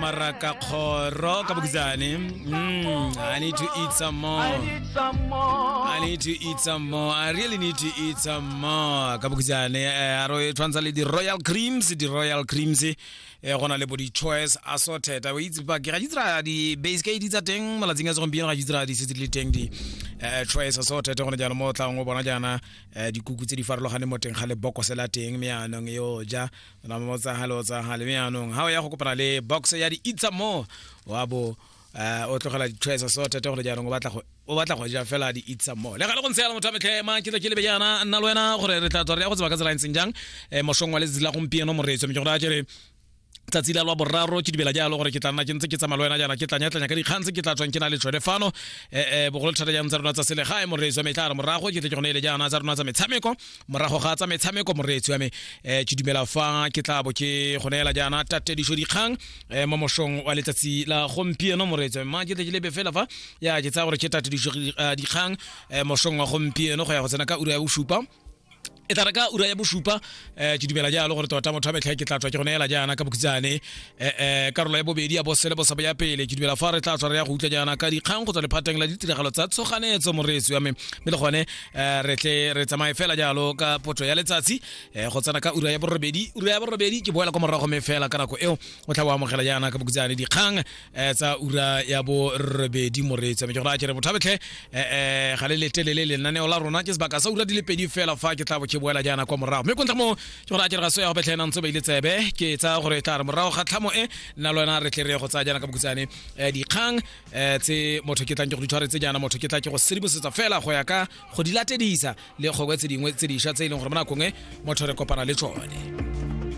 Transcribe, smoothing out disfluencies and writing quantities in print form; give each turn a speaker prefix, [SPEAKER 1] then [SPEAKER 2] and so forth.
[SPEAKER 1] Marakakgoro ka bokhutshwane. I need to eat some more.
[SPEAKER 2] I need some more.
[SPEAKER 1] I need to eat some more. I really need to eat some more. Ka bokhutshwane a re tshwantsha le di-royal creams, di-royal creams go na le bo di-choice assorted. O itse ba ke ga di tsira di-base ke di tsa teng malatsing a segompieno ga di tsira di setse di le teng di choice assorted gone jaanong mo o tlang o bona jaana dikuku tse di farologaneng mo teng ga lebokose la teng mme yaanong yo ja ona mo tsagale o tsagale mme yaanong ga o ya go kopana le box ya di-eat some more wa bo o tlogela di-choice assorted gone jaanong o batla go ja fela di-eat some more. Le gale go ntse yalo, motho wa metlhema ke tla ke lebe jaana nna le wena gore re tla tswa re ya go tseba ka tsela e ntseng jang mosong wa letsatsi la gompieno, moreetso. Mme ke go raya ke re tsatsi la lwa boraro ke dumela jalo gore ke tla nna ke ntse ke tsamaya le wena jaana, ke tlanya-tlanya ka dikgang tse ke tla tswang ke na le tsone fano bogolo thata jang tsa rona tsa selegae, moreetsi wa me. Tla re morago ke tle ke gone ele jaana tsa rona tsa metshameko. Morago ga tsa metshameko, moreetsi wa me, ke dumela fa ke tla bo ke go neela jaana tatedišo dikgang mo mosong wa letsatsi la gompieno, moreetsi wa me. Ma ke tle ke lebe fela fa ya ke tsaya gore ke tatedišo dikgang mosong wa gompieno go ya go tsena ka ura ya bosupa. E tla re ka ura ya bosupa ke dumela jalo gore tota motho wa metlha ke tla tswa ke go neela jaana ka bokhutshwane karolo ya bobedi ya bosele bosabo ya pele. Ke dumela fa re tla tswa re ya go utlwa jaana ka dikgang go tswa lephateng la ditiragalo tsa tshoganetso, moreetsi wa me, mme le gone re tle re tsamaye fela jalo ka poto ya letsatsi go tsena ka ura ya borobedi. Ura ya borobedi ke boela kwa morago, mme fela ka nako eo o tla o amogela jaana ka bokhutshwane dikgang tsa ura ya borobedi, moreetsi wa me. Ke go raya ke re motho wa metlhe ga le letelele lenaneo la rona ke sebaka sa ura di le 2 fela fa ke tla bo ke boela jaana kwa morago. Mme kontle mo ke gore a ke re ga so ya go betlhena ntse ba ile tsebe, ke tsaya gore e tla re morago ga tlhamo e nna le wena re tle re ye go tsaya jaana ka bokhutshwane dikgang tse motho ke tlang ke go di tshwaretse jaana, motho ke tla ke go sedimosetsa fela go ya ka go di latedisa le kgongwe tse dingwe tse dišwa tse e leng gore mo nakong e motho re kopana le tsone.